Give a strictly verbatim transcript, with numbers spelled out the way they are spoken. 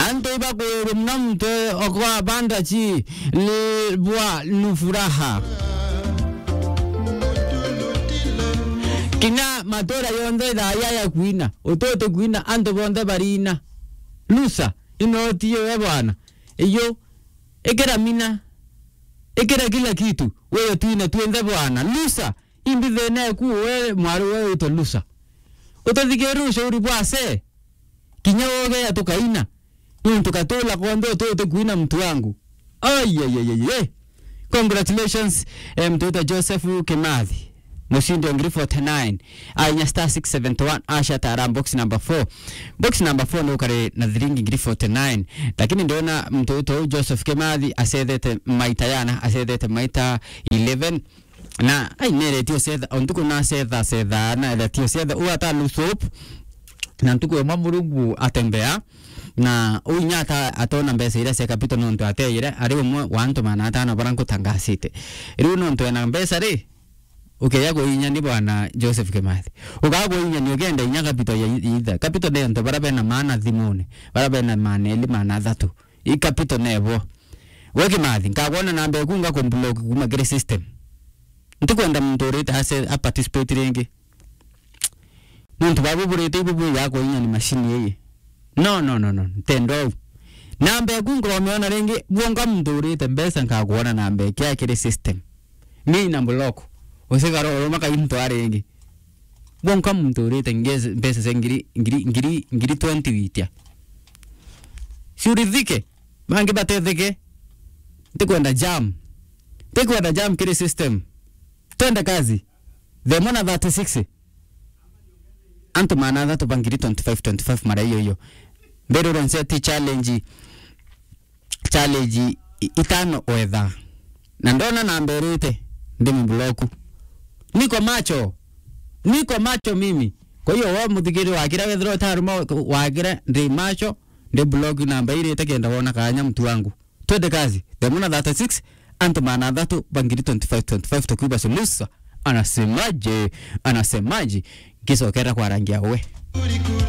Antu ibakwirwe muna muntu okwa bandachi li bwa nufuraha. Kinya matura yonthe thaa ya ya kuina, ututi kuina, antu bonthe barina. Lusa, inoti yo we bwana. Iyo, ikira mina, ikira kila kitu, wewe tuina tuenthe bwana. Lusa, imbi thina eku we mwari we witwa Lusa. Utathikirire ushauri bwa se. Kinya wogeya tukaina. Nuntu katula konthe ututi kuina mtu wangu. Ai, ai, ai, ai, ai. Congratulations, eh, mtu witwa Joseph Kimathi. Mushindi wa ngiri forty-nine. Ainya star six seventy-one, asha tara box number four. Box number four ni ukari na thiringi ngiri forty-nine. Lakini ndona mtu witwa Joseph Kimathi acethete maita yana, acethete maita eleven. Na ai, neretie ucetha, o ntuku na acetha, acetha, na eretie ucetha, u ata lose hope. Na ntuku imwe Murungu atembea, na u inya ata atona mbeca iria cia capital nontu ateire, ari umwe wa antu maana atano bara nkutangasite. Riu nontu ena mbeca ri, ukeja kuinya ni bwana Joseph Kimathi. Ukaa kuinya ni ukenda inya capital ya i-, itha. Capital ni antu bara bena maana thimune, bara bena maana eli, maana athatu. I capital nebo. We Kimathi, nkagwona namba eku ngakumblock kuma kiri system. Ntikwenda muntu urite ase a participate ringi. Nontu babu burite ibu bwi ya kuinya ni machine ii. No, no, no, no. Ntendo au. Namba eku nkomiona ringi, bwonka muntu urite mbeca nkagwona namba ekia kiri system. Ni na block. Usigara uruma kaintu aringi. Bwonka muntu urite ngezi-, mbeca cia ngiri, ngiri, ngiri, ngiri twenty witia. Ciurithike, bangi batetheke. Ntikwenda jam. Ntikwenda jam kiri system. Twende kazi. Themo na thirty-six. Antu maana athatu ba ngiri twenty-five, twenty-five mara iyo iyo. Mbere uronse ti challenge. Challenge i-, itano wetha. Na ndona namba irite, ndimi block. Niko macho. Niko macho mimi. Kwa hiyo, we muthikiri wakira wethirwa utaruma wakira, ndi macho, ndi block namba irite kenda wona kanya mtu wangu. Twende kazi. Themo na thirty-six, antu maana athatu ba ngiri twenty-five, twenty-five tukiuga Sulusa. Anasemaje? Anasemaje? Ngicokera kwarangia we.